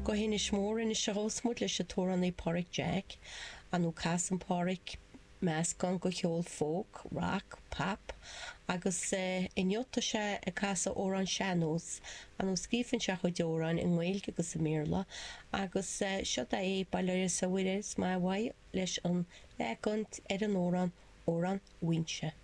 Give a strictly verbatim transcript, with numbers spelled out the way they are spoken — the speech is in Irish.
Go hInis Mór anois a ghabhfas muid leis an t-amhránaí Páraic Jack. Ar ndóigh casann Páraic meascán de cheol folk, rock, pop agus inniu tá sé ag casadh amhrán sean-nós. Ar ndóigh scríobhann sé a chuid amhráin i nGaeilge agus i mBéarla agus seod é Bail ó Dhia is ar Mhuire is maith uaidh leis an leagan ar an amhrán Amhrán Mhaínse.